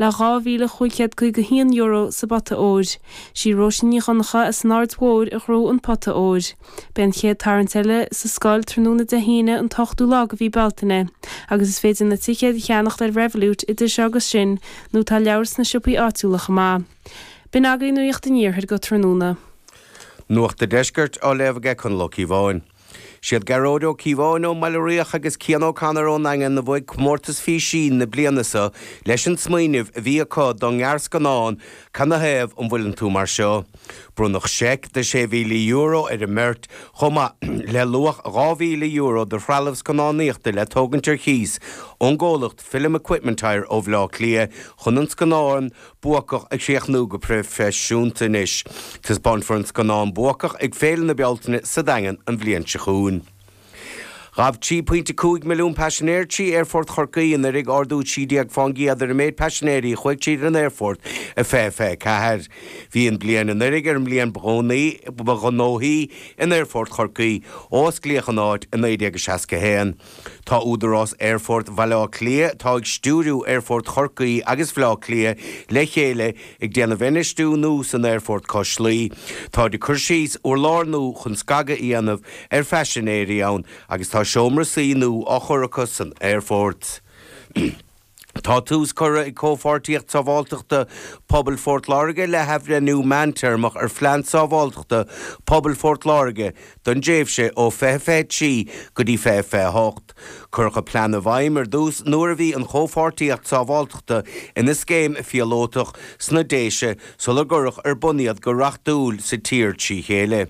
Le €2,551 sa bpota óir. Sí Róisín Ní Dhonnchadha as an Aird Mhóir a ghnóthaigh an pota óir. Beidh an chéad tarraingt eile sa scoil tráthnóna Dé hAoine an t-ochtú lá de mhí Bealtaine agus is féidir na ticéid a cheannacht ar Revolut idir seo agus sin nó tá leabhair sna siopaí áitiúla chomh maith. B'in agaibh Nuacht an Iarthair go tráthnóna. Nuacht an Deiscirt á léamh aige Conall Ó Cíobháin. Siad Gearóid Ó Cíobháin ón mBaile Riach agus Cian O'Connor ón nDaingean a bhuaigh comórtas Físín na bliana seo leis an smaoineamh a bhí acu don ngearrscannán Canathaobh an bhfuileann tú mar seo? Bronnadh seic de €6,000 ar an mbeirt chomh maith le luach €2,000 de threalamh scannánaíochta le tógaint ar chíos ón gcomhlacht Film Equipment Hire ó Bhleá Cliath chun an scannán Buacach a chríochnú go proifisiúnta anois. Taispeánfar an scannán Buacach ag Féile na Bealtaine sa Daingean an bhliain seo chugainn. Ghabh 3.5 milliún paisinéir trí Aerfort Chorcaí anuraidh, ardú 13 fán gcéad ar an méid paisinéirí a chuaigh tríd an aerfort i 2024. Bhí an bhliain anuraidh ar an mbliain ba ghnóthaí in Aerfort Chorcaí ó osclaíodh an áit i 1961. Tá Údarás Aerfort Bhaile Átha Cliath, atá ag stiúiriú Aerfort Chorcaí agus Bhaile Átha Cliath le chéile, ag déanamh infheistiú nua san aerfort cois Laoi. Táid ag cur síos urlár nua chun scagadh a dhéanamh ar phaisinéirí ann agus tá seomra suí nua á chur acu san aerfort. Tá tús curtha ag Comhpháirtíocht Sábháilteachta Pobail Phort Láirge le hathbhreithniú meántéarmach ar Phlean Sábháilteachta Pobail Phort Láirge don dtréimhse ó 2023 go dtí 2028. Cuireadh an plean i bhfeidhm ar dtús nuair a bhí an Chomhpháirtíocht Sábháilteachta ina scéim phíolótach sna Déise sular cuireadh ar bun iad go reachtúil sa tír trí chéile.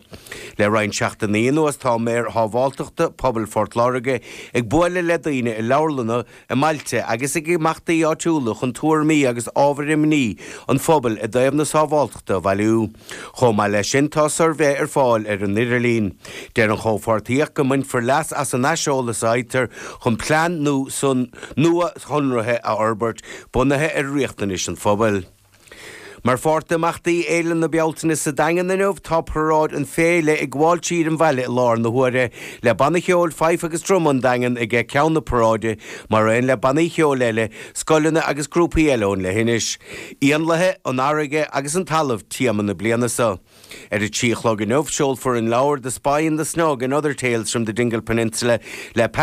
Le roinnt seachtainí anuas tá Maor Shábháilteachta Pobail Phort Láirge ag bualadh le daoine i leabharlanna, i mbailte agus ag imeachtaí áitiúla chun tuairimí agus ábhair imní an phobail i dtaobh na sábháilteachta a bhailiú. Chomh maith leis sin, tá suirbhé ar fáil ar an idirlíon. Deir an chomhpháirtíocht go mbainfear leas as an aiseolas a fhaightear chun plean nuashonraithe a fhorbairt, bunaithe ar riachtanais an phobail. Mar pháirt d'imeachtaí Fhéile na Bealtaine sa Daingean inniu, tá paráid an Féile ag gabháil tríd an bhaile i láthair na huaire, le Banna Cheoil Fife agus Druma an Daingean ag ceann na paráide, mar aon le bannaí cheoil eile, scoileanna agus grúpaí eile ón leithinis. Éanlaithe, an fharraige agus an talamh téama na bliana seo. Ar a 3 a chlog inniu, seolfar an leabhar The Spy in the Snug and Other Tales from the Dingle Peninsula le.